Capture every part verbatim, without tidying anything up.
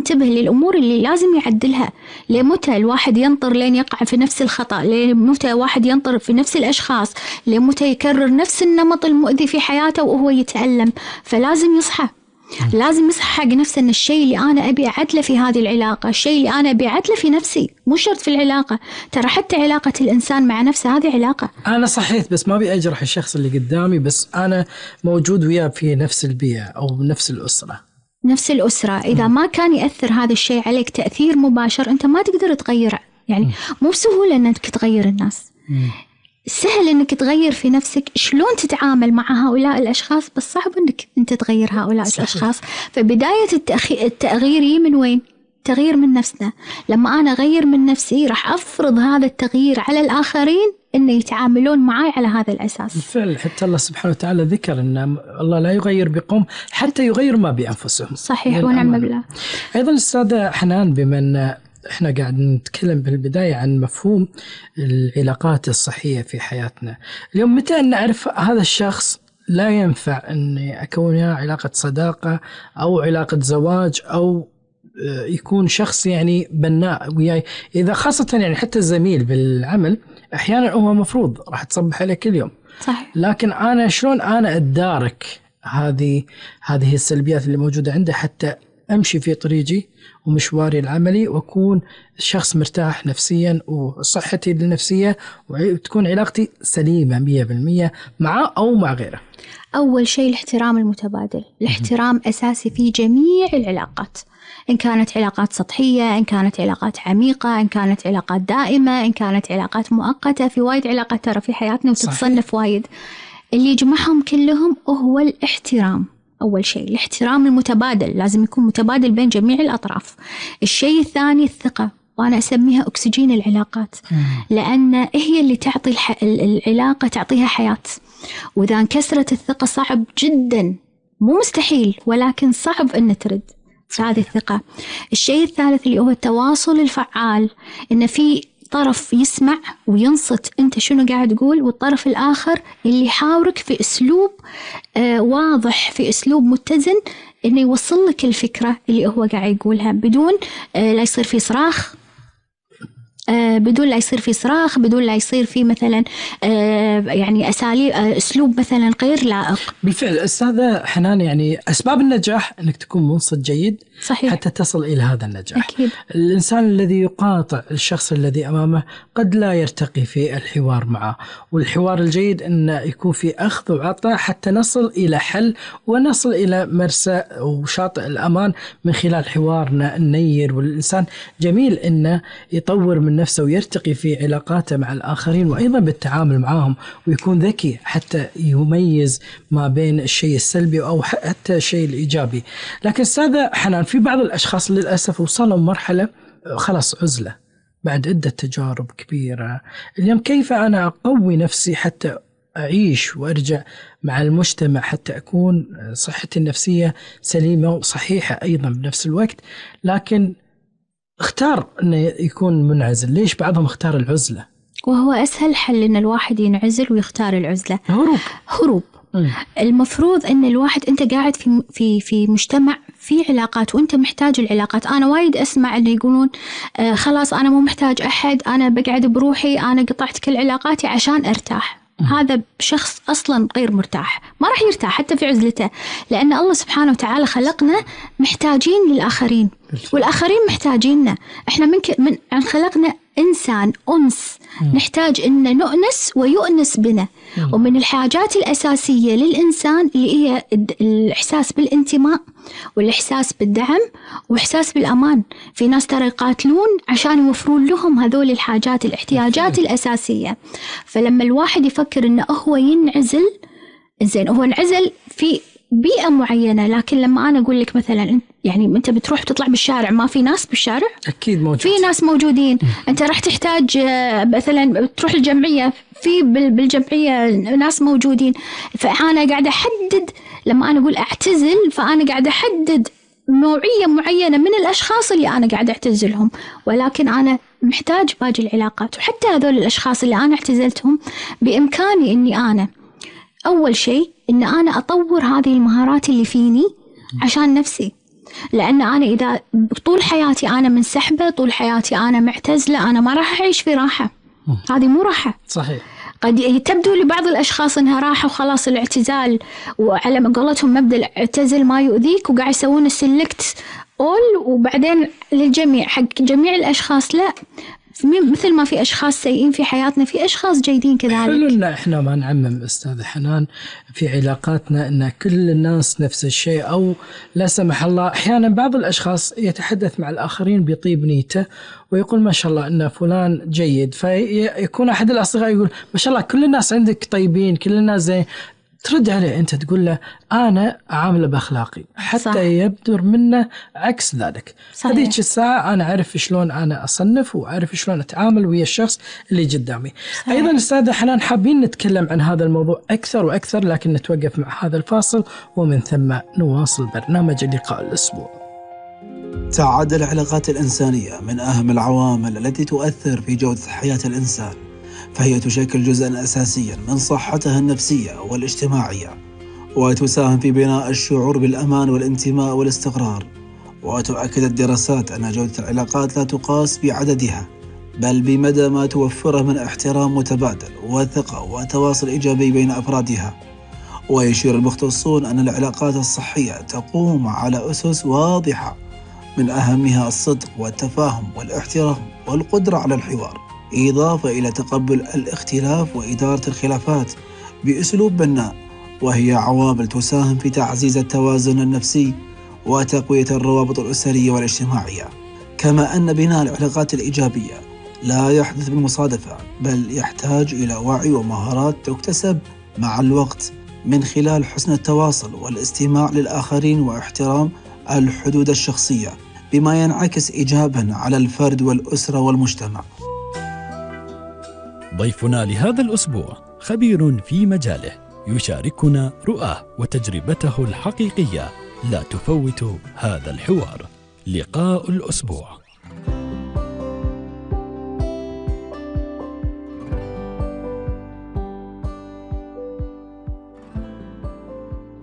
انتبه للأمور اللي لازم يعدلها. لمتى الواحد ينطر لين يقع في نفس الخطأ؟ لمتى واحد ينطر في نفس الأشخاص؟ لمتى يكرر نفس النمط المؤذي في حياته وهو يتألم؟ فلازم يصحى، لازم يصحى حق نفسه إن الشيء اللي أنا أبي أعدله في هذه العلاقة، الشيء اللي أنا أبي أعدله في نفسي، مو شرط في العلاقة. ترى حتى علاقة الإنسان مع نفسه هذه علاقة. أنا صحيت بس ما أبي أجرح الشخص اللي قدامي، بس أنا موجود وياه في نفس البيئة أو نفس الأسرة. نفس الأسرة إذا ما كان يأثر هذا الشيء عليك تأثير مباشر، أنت ما تقدر تغيره. يعني مو بسهولة أنك تغير الناس، سهل أنك تغير في نفسك شلون تتعامل مع هؤلاء الأشخاص، بس صعب أنك أنت تغير هؤلاء صحيح. الأشخاص. فبداية التأخي... التغيير من وين؟ تغيير من نفسنا. لما أنا أغير من نفسي راح أفرض هذا التغيير على الآخرين إن يتعاملون معي على هذا الأساس. بالفعل حتى الله سبحانه وتعالى ذكر أن الله لا يغير بقوم حتى يغير ما بأنفسهم. صحيح ونعم بالله. أيضا السادة حنان، بما أن إحنا قاعد نتكلم بالبداية عن مفهوم العلاقات الصحية في حياتنا، اليوم متى نعرف هذا الشخص لا ينفع أني أكون وياه علاقة صداقة أو علاقة زواج أو يكون شخص يعني بناء وياي؟ إذا خاصة يعني حتى الزميل بالعمل أحيانا هو مفروض راح تصبح عليه كل يوم، صحيح. لكن أنا شلون أنا أدارك هذه هذه السلبيات اللي موجودة عنده حتى أمشي في طريقي ومشواري العملي وأكون شخص مرتاح نفسيا وصحتي النفسية وتكون علاقتي سليمة مية بالمية معه أو مع غيره؟ أول شيء الاحترام المتبادل. الاحترام أساسي في جميع العلاقات، إن كانت علاقات سطحية، إن كانت علاقات عميقة، إن كانت علاقات دائمة، إن كانت علاقات مؤقتة. في وايد علاقات ترى في حياتنا وتتصنف وايد. اللي يجمعهم كلهم هو الاحترام. أول شيء الاحترام المتبادل لازم يكون متبادل بين جميع الأطراف. الشيء الثاني الثقة، وأنا أسميها أكسجين العلاقات، لأن هي اللي تعطي الح... العلاقة تعطيها حياة. وإذا انكسرت الثقة صعب جدا، مو مستحيل ولكن صعب أن ترد هذه الثقة. الشيء الثالث اللي هو التواصل الفعال، إن في طرف يسمع وينصت أنت شنو قاعد تقول، والطرف الآخر اللي يحاورك في أسلوب آه واضح، في أسلوب متزن، إنه يوصل لك الفكرة اللي هو قاعد يقولها بدون آه لا يصير في صراخ، آه بدون لا يصير في صراخ بدون لا يصير في مثلا آه يعني أساليب آه أسلوب مثلا غير لائق. بالفعل أستاذة حنان، يعني أسباب النجاح أنك تكون منصت جيد صحيح. حتى تصل إلى هذا النجاح. أكيد. الإنسان الذي يقاطع الشخص الذي أمامه قد لا يرتقي في الحوار معه، والحوار الجيد أن يكون في أخذ وعطاء حتى نصل إلى حل ونصل إلى مرسى وشاطئ الأمان من خلال حوارنا النير. والإنسان جميل أنه يطور من نفسه ويرتقي في علاقاته مع الآخرين وأيضا بالتعامل معهم، ويكون ذكي حتى يميز ما بين الشيء السلبي أو حتى الشيء الإيجابي. لكن أستاذة حنان، في بعض الأشخاص للأسف وصلوا مرحلة خلاص عزلة بعد عدة تجارب كبيرة. اليوم كيف أنا أقوي نفسي حتى أعيش وأرجع مع المجتمع حتى أكون صحتي النفسية سليمة وصحيحة أيضا بنفس الوقت، لكن اختار أنه يكون منعزل؟ ليش بعضهم اختار العزلة؟ وهو أسهل حل أن الواحد ينعزل ويختار العزلة. هروب. هروب. م. المفروض أن الواحد أنت قاعد في في في مجتمع في علاقات وأنت محتاج العلاقات. أنا وايد أسمع أن يقولون آه خلاص أنا مو محتاج أحد، أنا بقعد بروحي، أنا قطعت كل علاقاتي عشان أرتاح. هذا شخص أصلاً غير مرتاح، ما راح يرتاح حتى في عزلته، لأن الله سبحانه وتعالى خلقنا محتاجين للآخرين والآخرين محتاجيننا. إحنا من من عن خلقنا إنسان أنس، نحتاج إن نؤنس ويؤنس بنا. ومن الحاجات الأساسية للإنسان اللي هي الإحساس بالانتماء والإحساس بالدعم والإحساس بالأمان. في ناس ترى يقاتلون عشان يوفرون لهم هذول الحاجات الاحتياجات الأساسية. فلما الواحد يفكر إنه هو ينعزل، إنزين هو انعزل في بيئة معينة، لكن لما أنا أقول لك مثلا يعني أنت بتروح تطلع بالشارع ما في ناس بالشارع؟ أكيد موجود. في ناس موجودين. أنت راح تحتاج مثلا تروح الجمعية، في بالجمعية ناس موجودين. فأنا قاعدة أحدد، لما أنا أقول أعتزل فأنا قاعدة أحدد نوعية معينة من الأشخاص اللي أنا قاعدة أعتزلهم، ولكن أنا محتاج باقي العلاقات. وحتى هذول الأشخاص اللي أنا اعتزلتهم بإمكاني أني أنا أول شيء إن أنا أطور هذه المهارات اللي فيني عشان نفسي. لأن أنا إذا طول حياتي أنا منسحبة، طول حياتي أنا معتزلة، أنا ما راح أعيش في راحة. هذه مو راحة. صحيح. قد تبدو لبعض الأشخاص إنها راحة وخلاص الاعتزال، وعلى ما قولتهم مبدأ اعتزل ما يؤذيك، وقاعد يسوون السلكت أول وبعدين للجميع حق جميع الأشخاص. لا، مثل ما في أشخاص سيئين في حياتنا في أشخاص جيدين كذلك. حلو إن إحنا ما نعمم أستاذ حنان في علاقاتنا إن كل الناس نفس الشيء، أو لا سمح الله أحيانا بعض الأشخاص يتحدث مع الآخرين بطيب نيته ويقول ما شاء الله إن فلان جيد، فيكون أحد الأصدقاء يقول ما شاء الله كل الناس عندك طيبين، كل الناس زين. ترد عليه أنت تقول له أنا عامله بأخلاقي، حتى صح. يبدر منه عكس ذلك. هذيك الساعة أنا أعرف شلون أنا أصنف وأعرف شلون أتعامل ويا الشخص اللي قدامي. صحيح. أيضا أستاذة حنان حابين نتكلم عن هذا الموضوع أكثر وأكثر، لكن نتوقف مع هذا الفاصل ومن ثم نواصل برنامج لقاء الأسبوع. تعد العلاقات الإنسانية من أهم العوامل التي تؤثر في جودة حياة الإنسان، فهي تشكل جزءاً أساسياً من صحتها النفسية والاجتماعية، وتساهم في بناء الشعور بالأمان والانتماء والاستقرار. وتؤكد الدراسات أن جودة العلاقات لا تقاس بعددها، بل بمدى ما توفره من احترام متبادل وثقة وتواصل إيجابي بين أفرادها. ويشير المختصون أن العلاقات الصحية تقوم على أسس واضحة، من أهمها الصدق والتفاهم والاحترام والقدرة على الحوار، إضافة إلى تقبل الاختلاف وإدارة الخلافات بأسلوب بناء، وهي عوامل تساهم في تعزيز التوازن النفسي وتقوية الروابط الأسرية والاجتماعية. كما أن بناء العلاقات الإيجابية لا يحدث بالمصادفة، بل يحتاج إلى وعي ومهارات تكتسب مع الوقت من خلال حسن التواصل والاستماع للآخرين واحترام الحدود الشخصية، بما ينعكس إيجاباً على الفرد والأسرة والمجتمع. ضيفنا لهذا الأسبوع خبير في مجاله، يشاركنا رؤاه وتجربته الحقيقية. لا تفوتوا هذا الحوار. لقاء الأسبوع.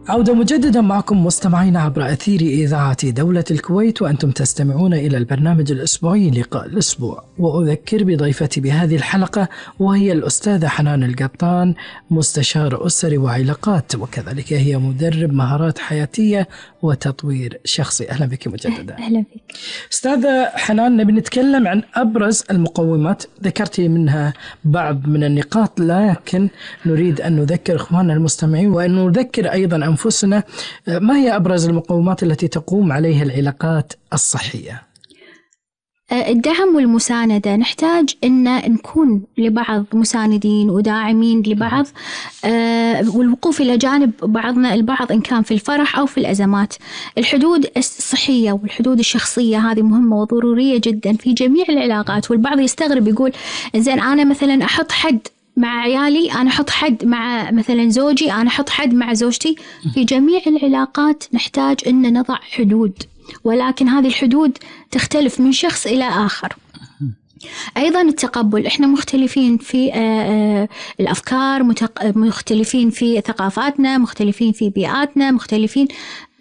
عودة مجددا معكم مستمعين عبر أثير إذاعة دولة الكويت، وأنتم تستمعون إلى البرنامج الأسبوعي لقاء الأسبوع. وأذكر بضيفتي بهذه الحلقة وهي الأستاذة حنان القطان، مستشار أسري وعلاقات، وكذلك هي مدرب مهارات حياتية وتطوير شخصي. أهلا بك مجددا. أهلا بك أستاذة حنان، نبي نتكلم عن أبرز المقومات، ذكرتي منها بعض من النقاط، لكن نريد أن نذكر إخواننا المستمعين وأن نذكر أيضا أنفسنا ما هي أبرز المقومات التي تقوم عليها العلاقات الصحية. الدعم والمساندة، نحتاج أن نكون لبعض مساندين وداعمين لبعض، والوقوف إلى جانب بعضنا البعض إن كان في الفرح أو في الأزمات. الحدود الصحية والحدود الشخصية هذه مهمة وضرورية جدا في جميع العلاقات. والبعض يستغرب يقول إنزين أنا مثلا أحط حد مع عيالي، أنا أحط حد مع مثلا زوجي، أنا أحط حد مع زوجتي. في جميع العلاقات نحتاج أن نضع حدود، ولكن هذه الحدود تختلف من شخص إلى آخر. أيضا التقبل، إحنا مختلفين في الأفكار، مختلفين في ثقافاتنا، مختلفين في بيئاتنا، مختلفين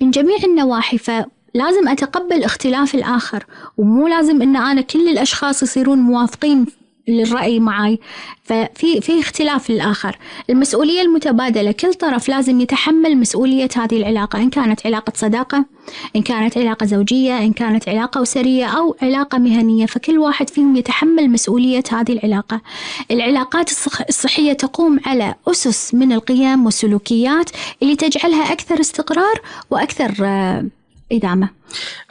من جميع النواحي، فلازم أتقبل اختلاف الآخر، ومو لازم أن أنا كل الأشخاص يصيرون موافقين للرأي معي، ففي في اختلاف للآخر. المسؤولية المتبادلة، كل طرف لازم يتحمل مسؤولية هذه العلاقة، إن كانت علاقة صداقة، إن كانت علاقة زوجية، إن كانت علاقة أسرية أو علاقة مهنية، فكل واحد فيهم يتحمل مسؤولية هذه العلاقة. العلاقات الصحية تقوم على أسس من القيم والسلوكيات اللي تجعلها أكثر استقرار وأكثر إدامة.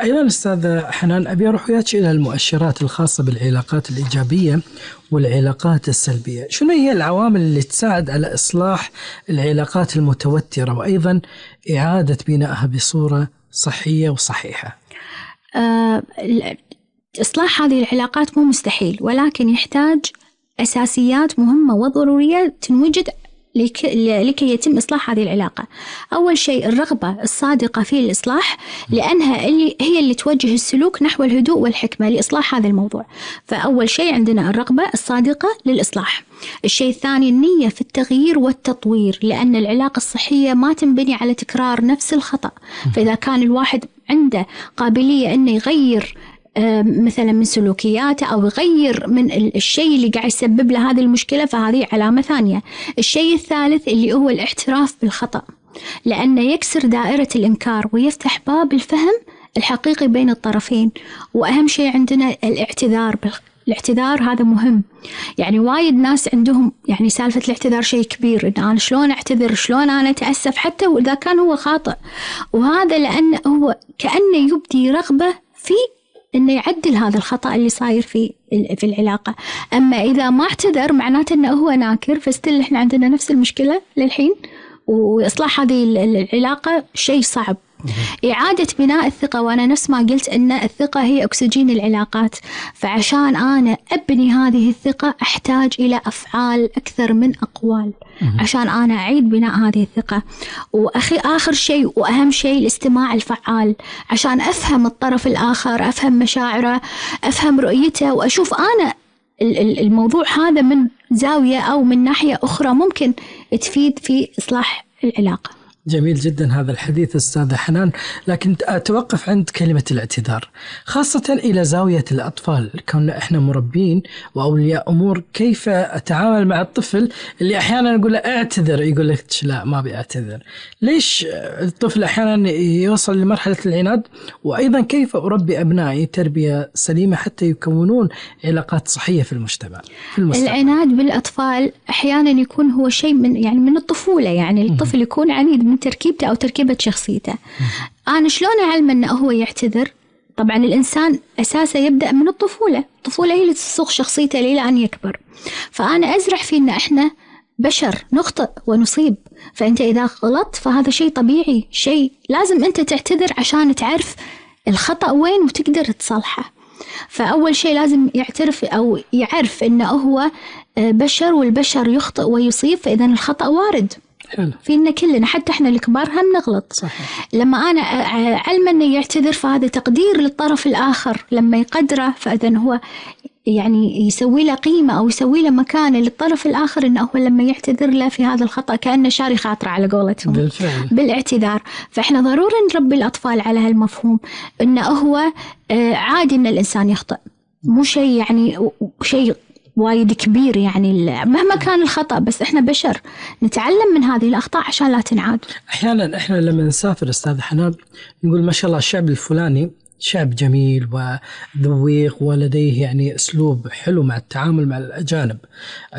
أيضا أستاذ حنان، أبي أروح وياك إلى المؤشرات الخاصة بالعلاقات الإيجابية والعلاقات السلبية. شنو هي العوامل اللي تساعد على إصلاح العلاقات المتوترة وأيضا إعادة بنائها بصورة صحية وصحيحة؟ أه إصلاح هذه العلاقات مو مستحيل، ولكن يحتاج أساسيات مهمة وضرورية تنوجد لكي يتم إصلاح هذه العلاقة. أول شيء الرغبة الصادقة في الإصلاح، لأنها اللي هي اللي توجه السلوك نحو الهدوء والحكمة لإصلاح هذا الموضوع. فأول شيء عندنا الرغبة الصادقة للإصلاح. الشيء الثاني النية في التغيير والتطوير، لأن العلاقة الصحية ما تنبني على تكرار نفس الخطأ. فإذا كان الواحد عنده قابلية أنه يغير مثلا من سلوكياته أو يغير من الشيء اللي قاعد يسبب له هذه المشكلة، فهذه علامة ثانية. الشيء الثالث اللي هو الاعتراف بالخطأ، لأنه يكسر دائرة الإنكار ويفتح باب الفهم الحقيقي بين الطرفين. وأهم شيء عندنا الاعتذار. الاعتذار هذا مهم. يعني وايد ناس عندهم يعني سالفة الاعتذار شيء كبير، إن أنا شلون أعتذر، شلون أنا أتأسف حتى وإذا كان هو خاطئ. وهذا لأنه هو كأنه يبدي رغبة في إنه يعدل هذا الخطأ اللي صاير في في العلاقة. أما إذا ما اعتذر معناته إنه هو ناكر، فستيل إحنا عندنا نفس المشكلة للحين. وإصلاح هذه العلاقة شيء صعب. إعادة بناء الثقة، وأنا نفس ما قلت أن الثقة هي أكسجين العلاقات. فعشان أنا أبني هذه الثقة أحتاج إلى أفعال أكثر من أقوال عشان أنا أعيد بناء هذه الثقة. وأخي آخر شيء وأهم شيء الاستماع الفعال، عشان أفهم الطرف الآخر، أفهم مشاعره، أفهم رؤيته، وأشوف أنا الموضوع هذا من زاوية أو من ناحية أخرى ممكن تفيد في إصلاح العلاقة. جميل جدا هذا الحديث أستاذة حنان، لكن أتوقف عند كلمة الاعتذار خاصة إلى زاوية الأطفال. كنا إحنا مربين وأولياء أمور، كيف أتعامل مع الطفل اللي أحيانا نقول له اعتذر، يقول لك لا ما بيعتذر. ليش الطفل أحيانا يوصل لمرحلة العناد؟ وأيضا كيف أربي أبنائي تربية سليمة حتى يكونون علاقات صحية في المجتمع في المستقبل؟ العناد بالأطفال أحيانا يكون هو شيء من يعني من الطفولة، يعني الطفل يكون عنيد من تركيبته أو تركيبة شخصيته. أنا شلون أعلم أنه هو يعتذر؟ طبعا الإنسان أساسا يبدأ من الطفولة. الطفولة هي اللي تصوغ شخصيته إلى أن يكبر. فأنا أزرع فيه أن إحنا بشر نخطئ ونصيب. فأنت إذا غلطت فهذا شيء طبيعي، شيء لازم أنت تعتذر عشان تعرف الخطأ وين وتقدر تصلحه. فأول شيء لازم يعترف أو يعرف أنه هو بشر، والبشر يخطئ ويصيب، فإذا الخطأ وارد حلو. فينا كلنا، حتى احنا الكبار هم نغلط. صحيح. لما انا علم انه يعتذر فهذا تقدير للطرف الاخر، لما يقدره فاذا هو يعني يسوي له قيمه او يسوي له مكانه للطرف الاخر، انه هو لما يعتذر له في هذا الخطا كانه شاري خاطره على قولتهم بالفعل. بالاعتذار. فاحنا ضروري نربي الاطفال على هالمفهوم، انه هو عادي ان الانسان يخطئ، مو شيء يعني شيء وايد كبير يعني مهما كان الخطأ، بس إحنا بشر نتعلم من هذه الأخطاء عشان لا تنعاد. أحيانا إحنا لما نسافر أستاذ حنان نقول ما شاء الله الشعب الفلاني شعب جميل وذويق ولديه يعني أسلوب حلو مع التعامل مع الأجانب.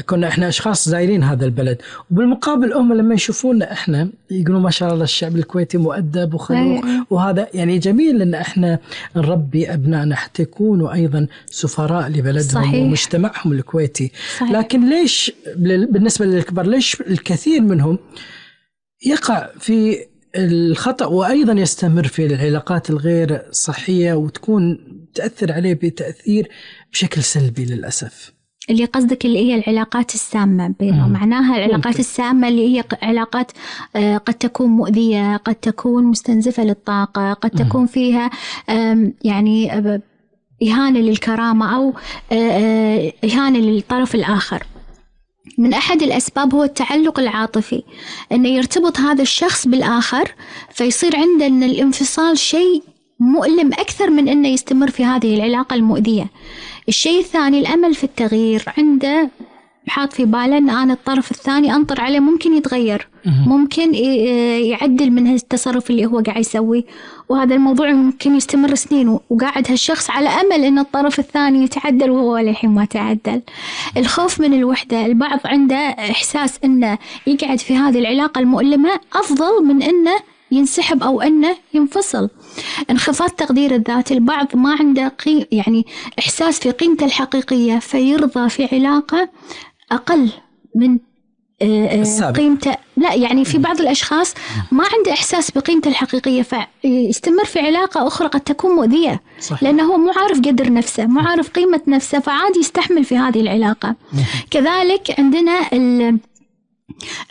كنا إحنا أشخاص زائرين هذا البلد، وبالمقابل هم لما يشوفونا إحنا يقولوا ما شاء الله الشعب الكويتي مؤدب وخلوق. وهذا يعني جميل لأن إحنا نربي أبنائنا حتى يكونوا أيضا سفراء لبلدهم. صحيح. ومجتمعهم الكويتي. صحيح. لكن ليش بالنسبة للكبار ليش الكثير منهم يقع في الخطأ وأيضا يستمر في العلاقات الغير صحية وتكون تأثر عليه بتأثير بشكل سلبي للأسف؟ اللي قصدك اللي هي العلاقات السامة، معناها العلاقات ممكن. السامة اللي هي علاقات قد تكون مؤذية، قد تكون مستنزفة للطاقة، قد تكون مم. فيها يعني إهانة للكرامة أو إهانة للطرف الآخر. من أحد الأسباب هو التعلق العاطفي، أنه يرتبط هذا الشخص بالآخر فيصير عندنا الانفصال شيء مؤلم أكثر من أنه يستمر في هذه العلاقة المؤذية. الشيء الثاني الأمل في التغيير، عنده حاط في باله أن أنا الطرف الثاني أنطر عليه ممكن يتغير، ممكن يعدل من هالتصرف اللي هو قاعد يسويه، وهذا الموضوع ممكن يستمر سنين وقاعد هالشخص على أمل أن الطرف الثاني يتعدل وهو للحين ما تعدل. الخوف من الوحدة، البعض عنده إحساس أنه يقعد في هذه العلاقة المؤلمة أفضل من أنه ينسحب أو أنه ينفصل. انخفاض تقدير الذات، البعض ما عنده قيم يعني إحساس في قيمته الحقيقية فيرضى في علاقة أقل من قيمته. لا يعني في بعض الأشخاص ما عنده إحساس بقيمته الحقيقية فيستمر في علاقة أخرى قد تكون مؤذية. صحيح. لأنه هو مو عارف قدر نفسه، مو عارف قيمة نفسه، فعادي يستحمل في هذه العلاقة. كذلك عندنا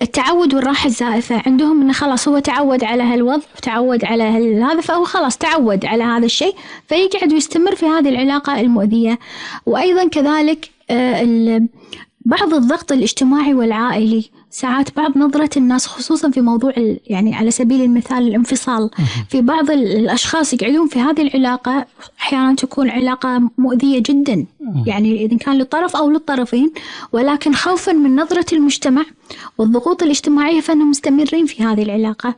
التعود والراحة الزائفة عندهم إنه خلاص هو تعود على هالوضع، تعود على هذا، فهو خلاص تعود على هذا الشيء، فيقعد ويستمر في هذه العلاقة المؤذية. وأيضا كذلك بعض الضغط الاجتماعي والعائلي، ساعات بعض نظرة الناس خصوصا في موضوع يعني على سبيل المثال الانفصال، في بعض الأشخاص يقعدون في هذه العلاقة أحيانا تكون علاقة مؤذية جدا، يعني إذا كان للطرف أو للطرفين، ولكن خوفا من نظرة المجتمع والضغوط الاجتماعية فإنهم مستمرين في هذه العلاقة.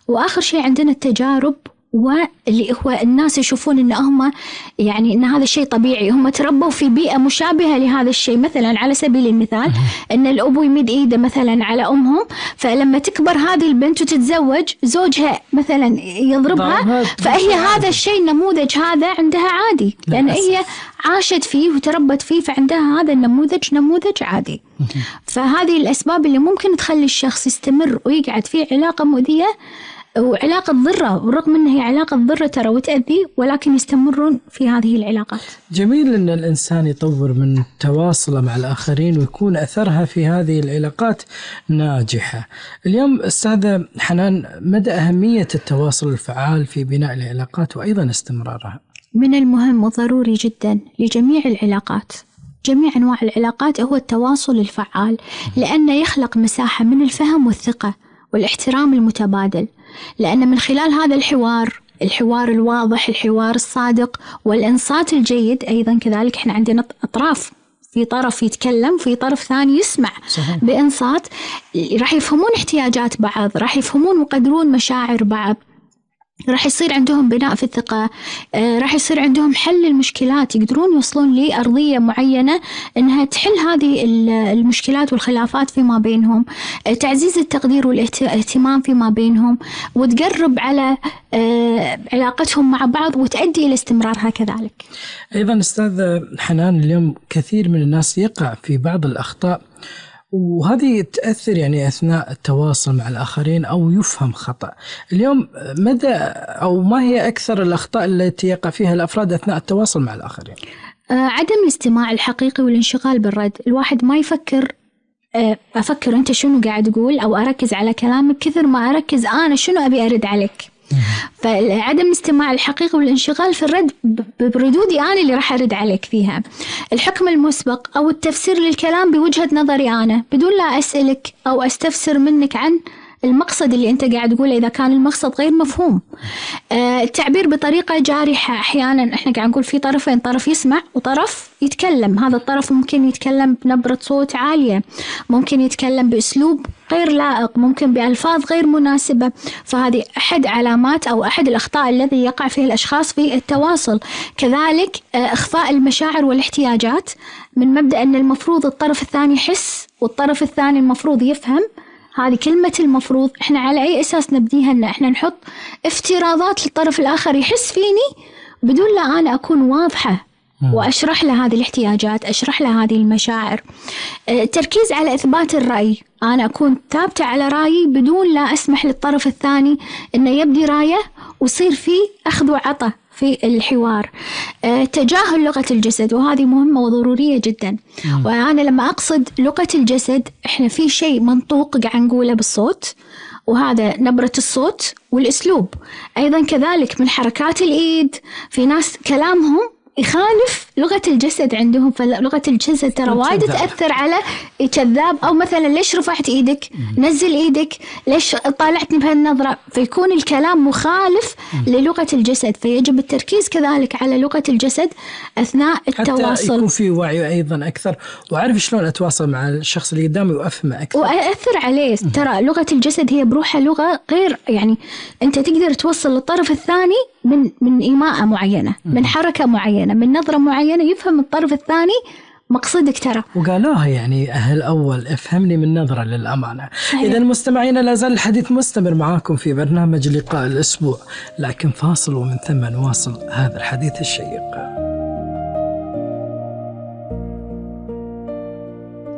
وآخر شيء عندنا التجارب، واللي هو الناس يشوفون إن هم يعني إن هذا الشيء طبيعي، هم تربوا في بيئة مشابهة لهذا الشيء. مثلا على سبيل المثال إن الأب يمد إيده مثلا على أمهم، فلما تكبر هذه البنت وتتزوج زوجها مثلا يضربها، فهي هذا الشيء النموذج هذا عندها عادي، لأن هي عاشت فيه وتربت فيه، فعندها هذا النموذج نموذج عادي. فهذه الأسباب اللي ممكن تخلي الشخص يستمر ويقعد في علاقة مؤذية وعلاقة ضرة، ورغم أنها هي علاقة ضرة ترى وتأذي، ولكن يستمرون في هذه العلاقات. جميل أن الإنسان يطور من تواصله مع الآخرين ويكون أثرها في هذه العلاقات ناجحة. اليوم أستاذة حنان، مدى أهمية التواصل الفعال في بناء العلاقات وأيضا استمرارها؟ من المهم وضروري جدا لجميع العلاقات، جميع أنواع العلاقات، هو التواصل الفعال، لأنه يخلق مساحة من الفهم والثقة والاحترام المتبادل. لأن من خلال هذا الحوار، الحوار الواضح، الحوار الصادق والإنصات الجيد، أيضا كذلك إحنا عندنا أطراف، في طرف يتكلم في طرف ثاني يسمع صحيح. بإنصات راح يفهمون احتياجات بعض، راح يفهمون ويقدرون مشاعر بعض، راح يصير عندهم بناء في الثقة، آه، راح يصير عندهم حل المشكلات، يقدرون يوصلون لأرضية معينة إنها تحل هذه المشكلات والخلافات فيما بينهم، آه، تعزيز التقدير والاهتمام فيما بينهم، وتقرب على آه، علاقتهم مع بعض وتؤدي إلى استمرارها كذلك. أيضا أستاذ حنان، اليوم كثير من الناس يقع في بعض الأخطاء، وهذه تأثر يعني أثناء التواصل مع الآخرين أو يفهم خطأ. اليوم مدى أو ما هي أكثر الأخطاء التي يقع فيها الأفراد أثناء التواصل مع الآخرين؟ آه عدم الاستماع الحقيقي والانشغال بالرد. الواحد ما يفكر آه أفكر أنت شنو قاعد تقول أو أركز على كلامك كثر ما أركز أنا شنو أبي أرد عليك. فعدم الاستماع الحقيقي والانشغال في الرد بردودي أنا اللي راح أرد عليك فيها. الحكم المسبق أو التفسير للكلام بوجهة نظري أنا بدون لا أسألك أو أستفسر منك عن المقصد اللي أنت قاعد تقوله إذا كان المقصد غير مفهوم. آه التعبير بطريقة جارحة، أحيانا إحنا قاعد نقول في طرفين، طرف يسمع وطرف يتكلم. هذا الطرف ممكن يتكلم بنبرة صوت عالية، ممكن يتكلم بأسلوب غير لائق، ممكن بألفاظ غير مناسبة. فهذه أحد علامات أو أحد الأخطاء الذي يقع فيه الأشخاص في التواصل. كذلك آه إخفاء المشاعر والاحتياجات، من مبدأ أن المفروض الطرف الثاني يحس والطرف الثاني المفروض يفهم. هذه كلمة المفروض، إحنا على أي أساس نبديها؟ إن إحنا نحط افتراضات للطرف الآخر يحس فيني بدون لا أنا أكون واضحة وأشرح له هذه الاحتياجات، أشرح له هذه المشاعر. التركيز على إثبات الرأي، أنا أكون ثابتة على رأيي بدون لا أسمح للطرف الثاني إنه يبدي رأيه ويصير فيه أخذ وعطى في الحوار. أه تجاهل لغة الجسد، وهذه مهمة وضرورية جدا. مم. وأنا لما أقصد لغة الجسد، إحنا في شيء منطوق قاعد نقوله بالصوت، وهذا نبرة الصوت والأسلوب. أيضا كذلك من حركات الإيد، في ناس كلامهم يخالف لغة الجسد عندهم، فلغة الجسد ترى وايد تأثر على كذاب. أو مثلا ليش رفعت إيدك؟ نزل إيدك، ليش طالعتني بهالنظرة؟ فيكون الكلام مخالف للغة الجسد، فيجب التركيز كذلك على لغة الجسد أثناء التواصل، حتى يكون في وعي أيضا أكثر، وعارف شلون أتواصل مع الشخص اللي قدامي وأفهمه أكثر وأثر عليه. ترى لغة الجسد هي بروحها لغة غير، يعني أنت تقدر توصل للطرف الثاني من من إيماءة معينة، من حركة معينة، من نظرة معينة، يفهم الطرف الثاني مقصدك ترى. وقالوها يعني أهل أول افهمني من نظرة للأمانة. إذا المستمعين، لا زال الحديث مستمر معاكم في برنامج لقاء الأسبوع، لكن فاصل ومن ثم نواصل هذا الحديث الشيق.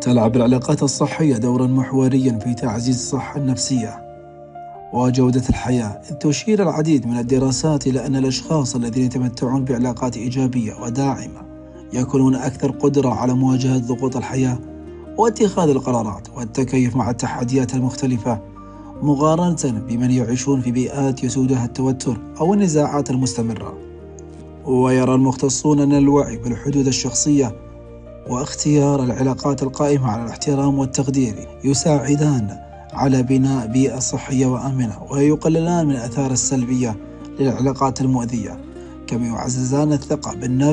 تلعب العلاقات الصحية دورا محوريا في تعزيز الصحة النفسية وجودة الحياة، إذ تشير العديد من الدراسات إلى أن الأشخاص الذين يتمتعون بعلاقات إيجابية وداعمة يكونون أكثر قدرة على مواجهة ضغوط الحياة واتخاذ القرارات والتكيف مع التحديات المختلفة، مقارنة بمن يعيشون في بيئات يسودها التوتر أو النزاعات المستمرة. ويرى المختصون أن الوعي بالحدود الشخصية واختيار العلاقات القائمة على الاحترام والتقدير يساعدان على بناء بيئة صحية وآمنة، ويقللان من الآثار السلبية للعلاقات المؤذية، كما يعززان الثقة بالنفس